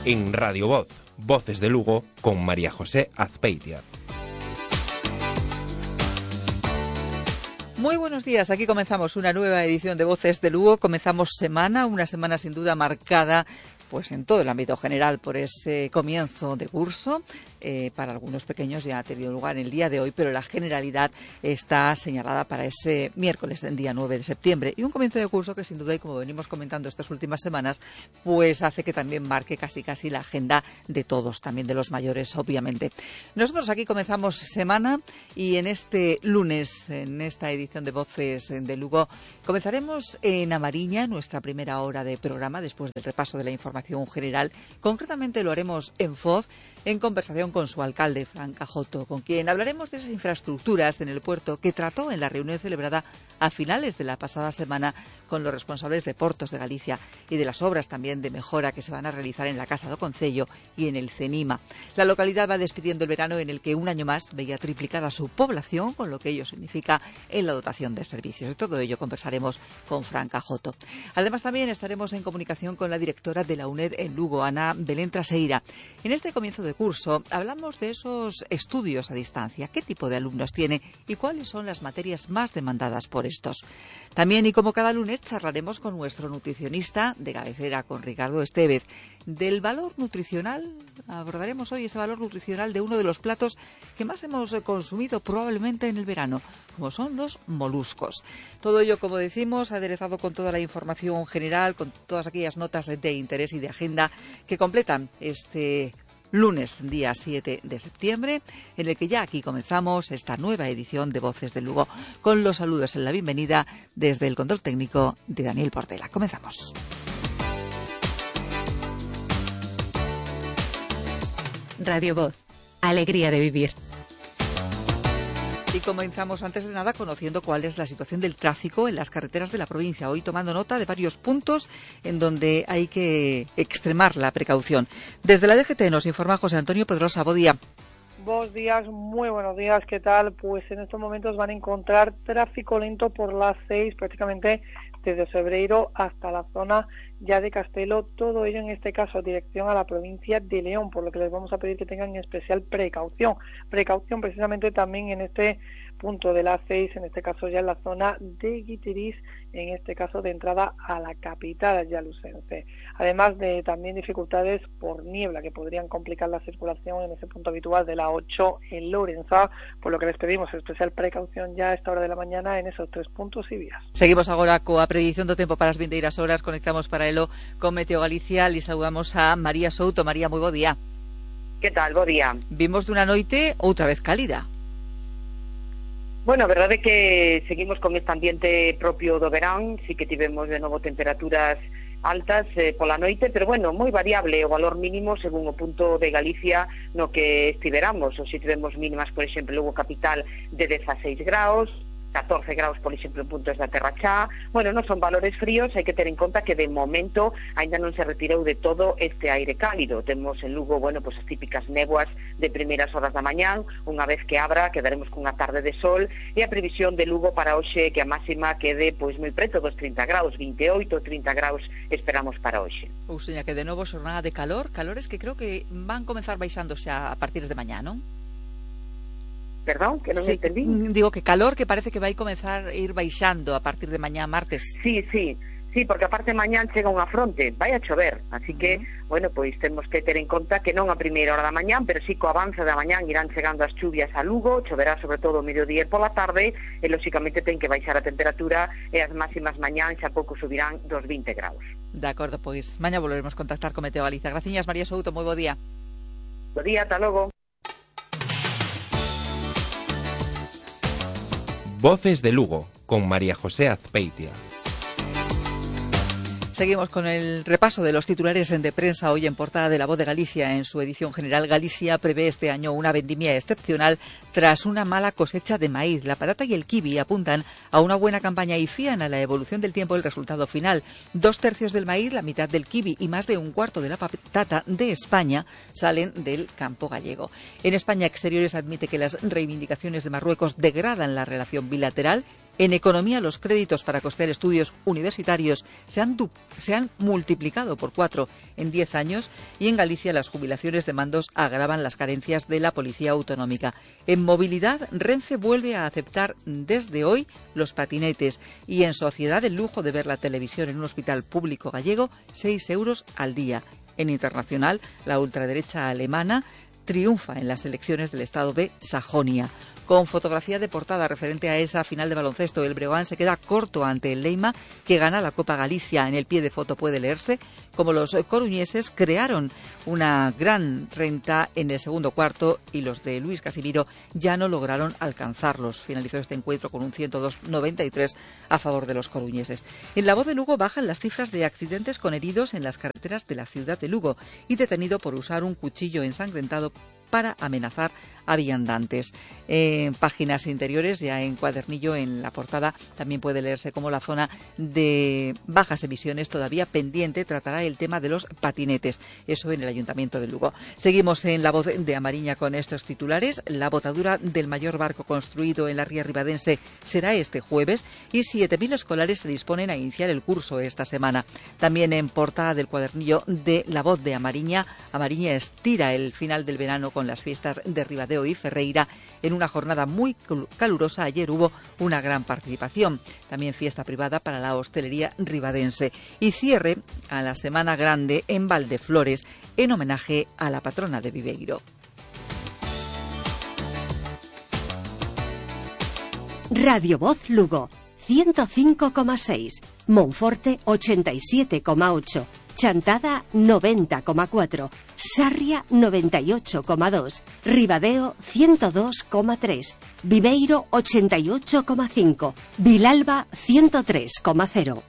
En Radio Voz, Voces de Lugo, con María José Azpeitia. Muy buenos días, aquí comenzamos una nueva edición de Voces de Lugo. Comenzamos una semana sin duda marcada pues en todo el ámbito general por ese comienzo de curso. Para algunos pequeños ya ha tenido lugar el día de hoy, pero la generalidad está señalada para ese miércoles, el día 9 de septiembre. Y un comienzo de curso que sin duda, y como venimos comentando estas últimas semanas, pues hace que también marque casi la agenda de todos, también de los mayores, obviamente. Nosotros aquí comenzamos semana y en este lunes, en esta edición de Voces de Lugo, comenzaremos en Amariña, nuestra primera hora de programa, después del repaso de la información general. Concretamente lo haremos en Foz, en conversación con su alcalde, Fran Cajoto, con quien hablaremos de esas infraestructuras en el puerto que trató en la reunión celebrada a finales de la pasada semana con los responsables de Portos de Galicia y de las obras también de mejora que se van a realizar en la Casa do Concello y en el CENIMA. La localidad va despidiendo el verano en el que un año más veía triplicada su población, con lo que ello significa en la dotación de servicios. De todo ello conversaremos con Fran Cajoto. Además también estaremos en comunicación con la directora de la UNED en Lugo, Ana Belén Traseira. En este comienzo de curso hablamos de esos estudios a distancia, qué tipo de alumnos tiene y cuáles son las materias más demandadas por estos. También, y como cada lunes, charlaremos con nuestro nutricionista de cabecera, con Ricardo Estevez, del valor nutricional. Abordaremos hoy ese valor nutricional de uno de los platos que más hemos consumido probablemente en el verano, como son los moluscos. Todo ello, como decimos, aderezado con toda la información general, con todas aquellas notas de interés y de agenda que completan este lunes, día 7 de septiembre, en el que ya aquí comenzamos esta nueva edición de Voces de Lugo, con los saludos en la bienvenida desde el control técnico de Daniel Portela. Comenzamos. Radio Voz, alegría de vivir. Y comenzamos antes de nada conociendo cuál es la situación del tráfico en las carreteras de la provincia. Hoy tomando nota de varios puntos en donde hay que extremar la precaución. Desde la DGT nos informa José Antonio Pedrosa. Buen día. Buenos días, muy buenos días, ¿qué tal? Pues en estos momentos van a encontrar tráfico lento por las 6, prácticamente desde Sebreiro hasta la zona ya de Castelo, todo ello en este caso dirección a la provincia de León, por lo que les vamos a pedir que tengan especial precaución precisamente también en este punto de las 6, en este caso ya en la zona de Guitiriz, en este caso de entrada a la capital ayalucense. Además de también dificultades por niebla que podrían complicar la circulación en ese punto habitual de la 8 en Lorenza, por lo que les pedimos especial precaución ya a esta hora de la mañana en esos 3 puntos y vías. Seguimos agora coa predición do tempo para as vindeiras horas, conectamos para elo con Meteo Galicia e saludamos a María Souto. María, moi bo día. Que tal? Bo día. Vimos dunha noite outra vez cálida. Bueno, a verdade é que seguimos con este ambiente propio do verán, sí que tivemos de novo temperaturas altas pola noite, pero bueno, moi variable o valor mínimo según o punto de Galicia no que estiveramos. Ou se tivemos mínimas, por exemplo, Lugo capital de 16 graus, 14 graus, por exemplo, en puntos da Terra Chá. Bueno, non son valores fríos, hai que ter en conta que de momento aínda non se retirou de todo este aire cálido. Temos en Lugo, bueno, pues as típicas néboas de primeiras horas da mañán, unha vez que abra quedaremos cunha tarde de sol, e a previsión de Lugo para hoxe que a máxima quede pois moi preto dos 30 graus, 28, 30 graus esperamos para hoxe. Ou seña que de novo xornada de calores que creo que van comenzar baixando xa a partir de mañá, non? Perdón, que non sí, entendí. Digo que calor que parece que vai comenzar a ir baixando a partir de mañá martes. Sí, porque aparte mañán chega unha fronte, vai a chover, así que, bueno, pois temos que ter en conta que non a primeira hora da mañán, pero sí co avance da mañán irán chegando as chuvias a Lugo, choverá sobre todo o mediodía e pola tarde, e lóxicamente ten que baixar a temperatura e as máximas mañán xa pouco subirán dos 20 graus. De acordo, pois mañá volveremos a contactar con Meteo Galicia. Graciñas, María Souto, moi bo día. Bo día, ata logo. Voces de Lugo, con María José Azpeitia. Seguimos con el repaso de los titulares de prensa hoy en portada de La Voz de Galicia. En su edición general, Galicia prevé este año una vendimia excepcional tras una mala cosecha de maíz. La patata y el kiwi apuntan a una buena campaña y fían a la evolución del tiempo el resultado final. 2/3 del maíz, la mitad del kiwi y más de un cuarto de la patata de España salen del campo gallego. En España, Exteriores admite que las reivindicaciones de Marruecos degradan la relación bilateral En economía, los créditos para costear estudios universitarios se han multiplicado por 4 en 10 años y en Galicia las jubilaciones de mandos agravan las carencias de la Policía Autonómica. En movilidad, Renfe vuelve a aceptar desde hoy los patinetes y en sociedad el lujo de ver la televisión en un hospital público gallego, 6 euros al día. En internacional, la ultraderecha alemana triunfa en las elecciones del estado de Sajonia. Con fotografía de portada referente a esa final de baloncesto, el Breogán se queda corto ante el Leima, que gana la Copa Galicia. En el pie de foto puede leerse como los coruñeses crearon una gran renta en el segundo cuarto y los de Luis Casimiro ya no lograron alcanzarlos. Finalizó este encuentro con un 102-93 a favor de los coruñeses. En La Voz de Lugo bajan las cifras de accidentes con heridos en las carreteras de la ciudad de Lugo y detenido por usar un cuchillo ensangrentado para amenazar a viandantes. En páginas interiores, ya en cuadernillo, en la portada, también puede leerse como la zona de bajas emisiones todavía pendiente tratará el tema de los patinetes. Eso en el Ayuntamiento de Lugo. Seguimos en La Voz de Amariña con estos titulares. La botadura del mayor barco construido en la ría ribadense será este jueves y 7.000 escolares se disponen a iniciar el curso esta semana. También en portada del cuadernillo de La Voz de Amariña, Amariña estira el final del verano con las fiestas de Ribadeo y Ferreira. En una jornada muy calurosa ayer hubo una gran participación. También fiesta privada para la hostelería ribadense. Y cierre a la Semana Grande en Valdeflores en homenaje a la patrona de Viveiro. Radio Voz Lugo 105,6, Monforte 87,8, Chantada 90,4, Sarria 98,2, Ribadeo 102,3, Viveiro 88,5, Vilalba 103,0.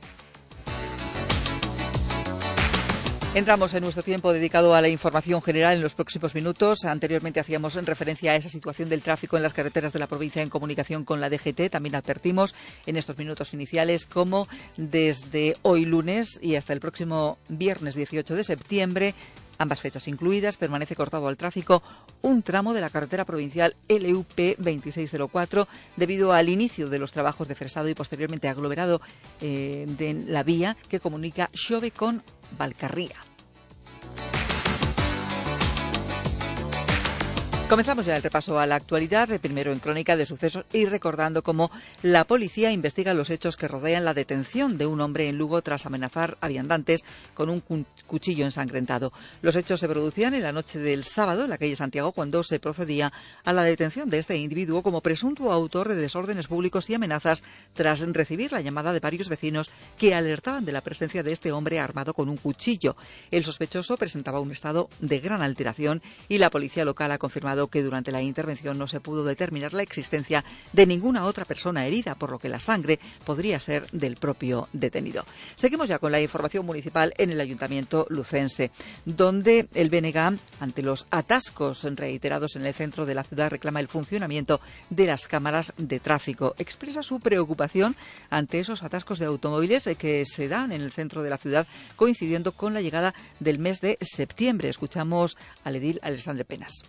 Entramos en nuestro tiempo dedicado a la información general en los próximos minutos. Anteriormente hacíamos referencia a esa situación del tráfico en las carreteras de la provincia en comunicación con la DGT. También advertimos en estos minutos iniciales cómo desde hoy lunes y hasta el próximo viernes 18 de septiembre, ambas fechas incluidas, permanece cortado al tráfico un tramo de la carretera provincial LUP 2604 debido al inicio de los trabajos de fresado y posteriormente aglomerado de la vía que comunica Xove con Valcarría. Comenzamos ya el repaso a la actualidad, primero en crónica de sucesos y recordando cómo la policía investiga los hechos que rodean la detención de un hombre en Lugo tras amenazar a viandantes con un cuchillo ensangrentado. Los hechos se producían en la noche del sábado en la calle Santiago cuando se procedía a la detención de este individuo como presunto autor de desórdenes públicos y amenazas tras recibir la llamada de varios vecinos que alertaban de la presencia de este hombre armado con un cuchillo. El sospechoso presentaba un estado de gran alteración y la policía local ha confirmado que durante la intervención no se pudo determinar la existencia de ninguna otra persona herida, por lo que la sangre podría ser del propio detenido. Seguimos ya con la información municipal en el Ayuntamiento lucense, donde el BNG, ante los atascos reiterados en el centro de la ciudad, reclama el funcionamiento de las cámaras de tráfico. Expresa su preocupación ante esos atascos de automóviles que se dan en el centro de la ciudad, coincidiendo con la llegada del mes de septiembre. Escuchamos al edil Alexandre Penas.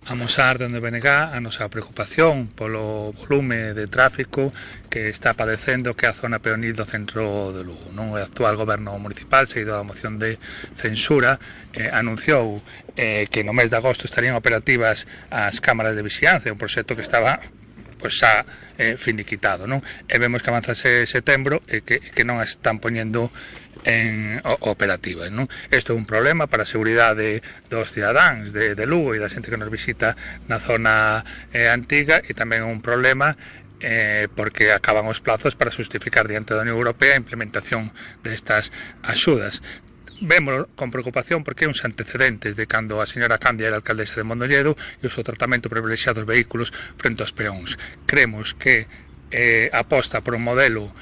Amosar dende o BNG a nosa preocupación polo volume de tráfico que está padecendo que a zona peonil do centro de Lugo. O actual goberno municipal, seguido da moción de censura, anunciou que no mes de agosto estarían operativas as cámaras de vixiancia, un proxecto que estaba xa finiquitado, non? E vemos que avanzase setembro e que non as están poñendo en operativas, non? Isto é un problema para a seguridade dos cidadáns de Lugo e da xente que nos visita na zona antiga, e tamén é un problema porque acaban os plazos para justificar diante da Unión Europea a implementación destas axudas. Vemos con preocupación porque hai uns antecedentes de cando a señora Candia era alcaldesa de Mondoñedo e o seu tratamento privilexiado dos vehículos frente aos peóns. Creemos que aposta por un modelo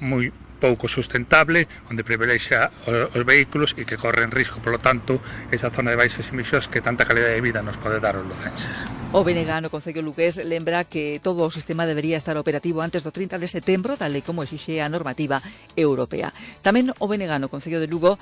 moi pouco sustentable, onde privilexa os vehículos e que corren risco, polo tanto, esa zona de baixas emisións que tanta calidad de vida nos pode dar os lucenses. O BNG no Concello lugués lembra que todo o sistema debería estar operativo antes do 30 de setembro, tal e como exixe a normativa europea. Tamén o BNG no Concello de Lugo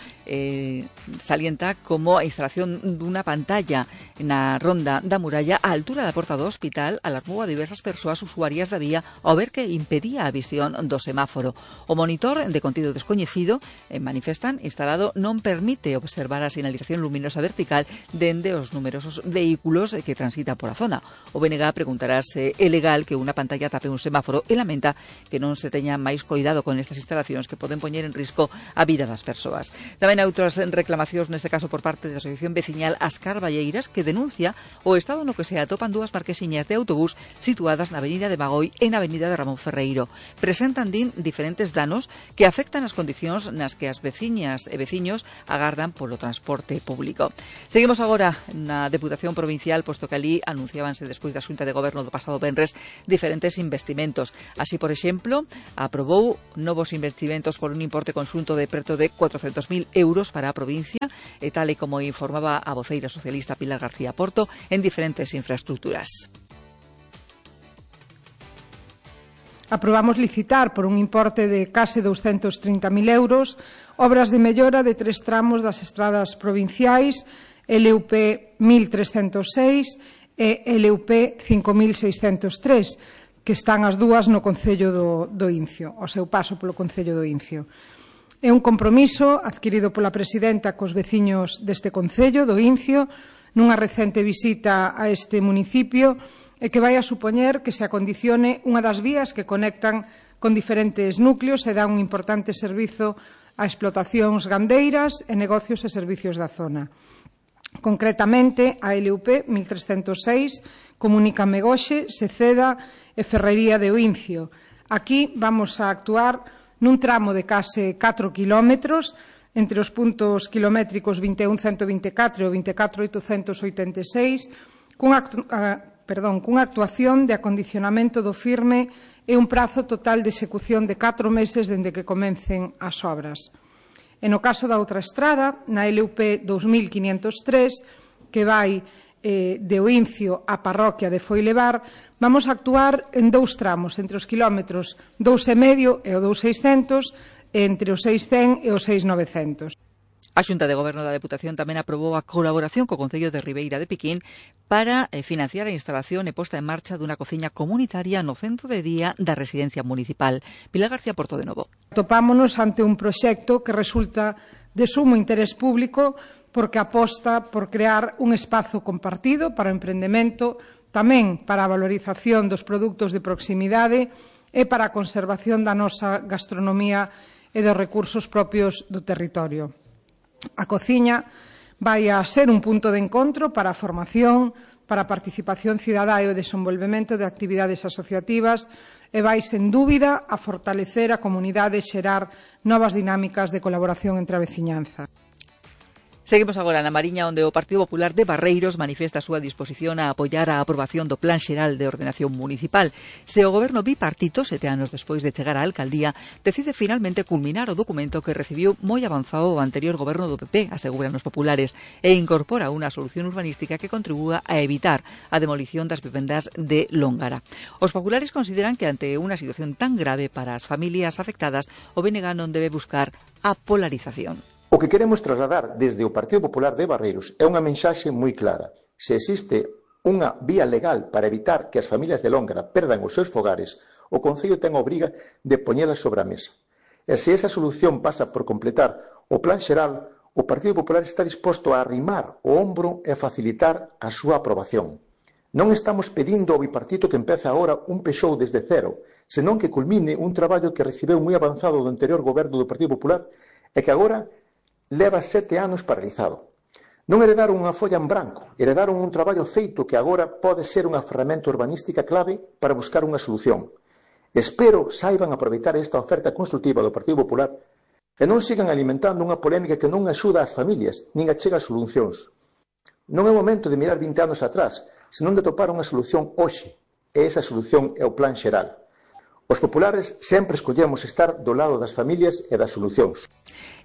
salienta como a instalación dunha pantalla na ronda da muralla á altura da porta do hospital alarmou a diversas persoas usuarias da vía ao ver que impedía a visión do semáforo. O monitor de contido descoñecido, manifestan, instalado non permite observar a sinalización luminosa vertical dende os numerosos vehículos que transitan por a zona. O BNG preguntará se é legal que unha pantalla tape un semáforo e lamenta que non se teña máis coidado con estas instalacións que poden poñer en risco a vida das persoas. Tamén hai outras reclamacións, neste caso por parte da Asociación Veciñal As Carballeiras, que denuncia o estado no que se atopan dúas marquesiñas de autobús situadas na avenida de Bagoi e na avenida de Ramón Ferreiro. Presentan, din, diferentes danos que afectan as condicións nas que as veciñas e veciños agardan polo transporte público. Seguimos agora na Deputación Provincial, posto que ali anunciábanse despois da Xunta de Goberno do pasado venres diferentes investimentos. Así, por exemplo, aprobou novos investimentos por un importe conxunto de preto de 400.000 euros para a provincia, e tal e como informaba a voceira socialista Pilar García Porto, en diferentes infraestructuras. Aprobamos licitar por un importe de case 230.000 euros obras de mellora de 3 tramos das estradas provinciais LUP 1306 e LUP 5603, que están as dúas no Concello do Incio, ao seu paso polo Concello do Incio. É un compromiso adquirido pola presidenta cos veciños deste Concello do Incio nunha recente visita a este municipio, e que vai a supoñer que se acondicione unha das vías que conectan con diferentes núcleos e dá un importante servizo a explotacións gandeiras e negocios e servicios da zona. Concretamente, a LUP 1306 comunica Megoxe, Seceda e Ferrería de Oincio. Aquí vamos a actuar nun tramo de case 4 kilómetros entre os puntos kilométricos 21.124 e o 24.886 cunha actuación de acondicionamento do firme e un prazo total de execución de 4 meses dende que comecen as obras. E no caso da outra estrada, na LUP 2503, que vai de Oincio á parroquia de Foilevar, vamos a actuar en 2 tramos, entre os kilómetros 2,5 e o 2,600, e entre os 600 e os 6,900. A Xunta de Goberno da Deputación tamén aprobou a colaboración co Concello de Ribeira de Piquín para financiar a instalación e posta en marcha dunha cociña comunitaria no centro de día da residencia municipal. Pilar García Porto de novo. Topámonos ante un proxecto que resulta de sumo interés público porque aposta por crear un espazo compartido para o emprendemento, tamén para a valorización dos produtos de proximidade e para a conservación da nosa gastronomía e dos recursos propios do territorio. A cociña vai a ser un punto de encontro para a formación, para a participación cidadá e o desenvolvemento de actividades asociativas e vai, sen dúbida, a fortalecer a comunidade e xerar novas dinámicas de colaboración entre a veciñanza. Seguimos agora na Mariña, onde o Partido Popular de Barreiros manifesta a súa disposición a apoiar a aprobación do Plan Xeral de Ordenación Municipal. Se o goberno bipartito, 7 anos despois de chegar á alcaldía, decide finalmente culminar o documento que recibiu moi avanzado o anterior goberno do PP, aseguran os populares, e incorpora unha solución urbanística que contribúa a evitar a demolición das vivendas de Lóngara. Os populares consideran que ante unha situación tan grave para as familias afectadas, o BNG non debe buscar a polarización. O que queremos trasladar desde o Partido Popular de Barreiros é unha mensaxe moi clara. Se existe unha vía legal para evitar que as familias de Lóngara perdan os seus fogares, o Concello ten a obriga de poñela sobre a mesa. E se esa solución pasa por completar o Plan Xeral, o Partido Popular está disposto a arrimar o ombro e facilitar a súa aprobación. Non estamos pedindo ao bipartito que empece agora un pexou desde cero, senón que culmine un traballo que recibeu moi avanzado do anterior goberno do Partido Popular e que agora leva 7 anos paralizado. Non heredaron unha folla en branco, heredaron un traballo feito que agora pode ser unha ferramenta urbanística clave para buscar unha solución. Espero saiban aproveitar esta oferta constructiva do Partido Popular e non sigan alimentando unha polémica que non axuda ás familias, nin achega solucións. Non é o momento de mirar 20 anos atrás, senón de topar unha solución hoxe, e esa solución é o Plan Xeral. Os populares sempre escollemos estar do lado das familias e das solucións.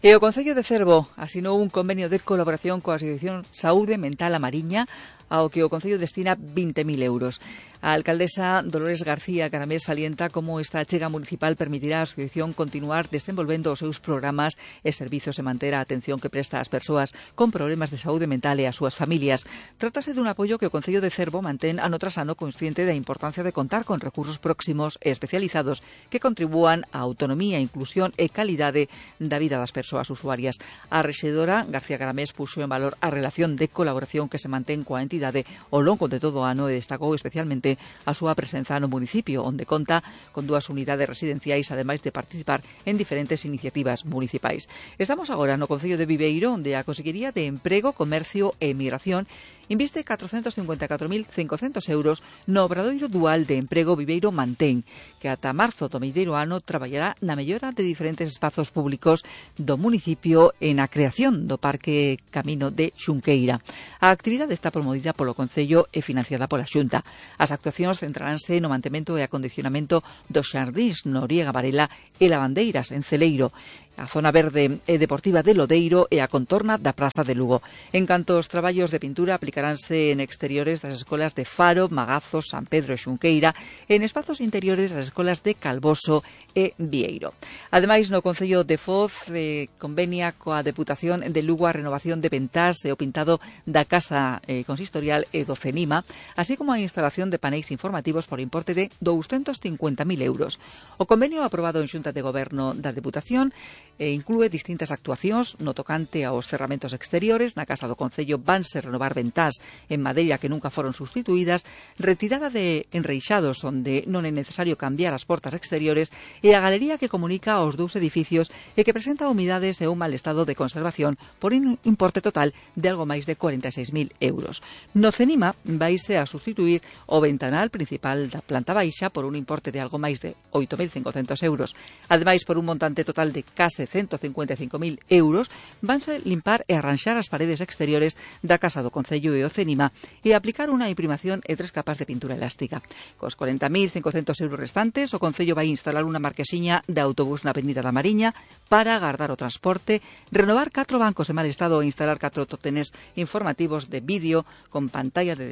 E o Concello de Cervo asinou un convenio de colaboración coa Asociación Saúde Mental A Mariña, ao que o Concello destina 20.000 euros. A alcaldesa Dolores García Caramés salienta como esta achega municipal permitirá á asociación continuar desenvolvendo os seus programas e servizos e manter a atención que presta ás persoas con problemas de saúde mental e ás súas familias. Trátase dun apoio que o Concello de Cervo mantén ano tras ano consciente da importancia de contar con recursos próximos e especializados que contribúan á autonomía, inclusión e calidade da vida das persoas usuarias. A rexedora García Caramés puxo en valor a relación de colaboración que se mantén coa entidade ao longo de todo o ano e destacou especialmente a súa presenza no municipio, onde conta con 2 unidades residenciais, ademais de participar en diferentes iniciativas municipais. Estamos agora no Concello de Viveiro, onde a Consellería de Emprego, Comercio e Migración inviste 454.500 euros no Obradoiro Dual de Emprego Viveiro Mantén, que ata marzo do vindeiro ano traballará na mellora de diferentes espazos públicos do municipio e na creación do Parque Camino de Xunqueira. A actividade está promovida polo Concello e financiada pola Xunta. As actuacións centraránse no mantemento e acondicionamento dos xardíns Noriega Varela e Lavandeiras en Celeiro, a zona verde e deportiva de Lodeiro e a contorna da Praza de Lugo. En canto aos traballos de pintura, aplicaránse en exteriores das escolas de Faro, Magazos, San Pedro e Xunqueira e en espazos interiores das escolas de Calvoso e Vieiro. Ademais, no Concello de Foz convenia coa Deputación de Lugo a renovación de ventás e o pintado da Casa Consistorial e do CENIMA, así como a instalación de paneis informativos por importe de 250.000 euros. O convenio aprobado en Xunta de Goberno da Deputación inclúe distintas actuacións no tocante aos cerramentos exteriores. Na Casa do Concello vanse renovar ventás en madeira que nunca foron sustituídas, retirada de enreixados onde non é necesario cambiar as portas exteriores e a galería que comunica os 2 edificios e que presenta humidades e un mal estado de conservación por un importe total de algo máis de 46.000 euros. No CENIMA vaise a sustituir o ventanal principal da planta baixa por un importe de algo máis de 8.500 euros. Ademais, por un montante total de case 155.000 euros, vanse limpar e arranxar as paredes exteriores da Casa do Concello e o CENIMA e aplicar unha imprimación e 3 capas de pintura elástica. Cos 40.500 euros restantes, o Concello vai instalar unha marquesiña de autobús na Avenida da Mariña para agardar o transporte, renovar 4 bancos en mal estado e instalar 4 totenes informativos de vídeo con pantalla de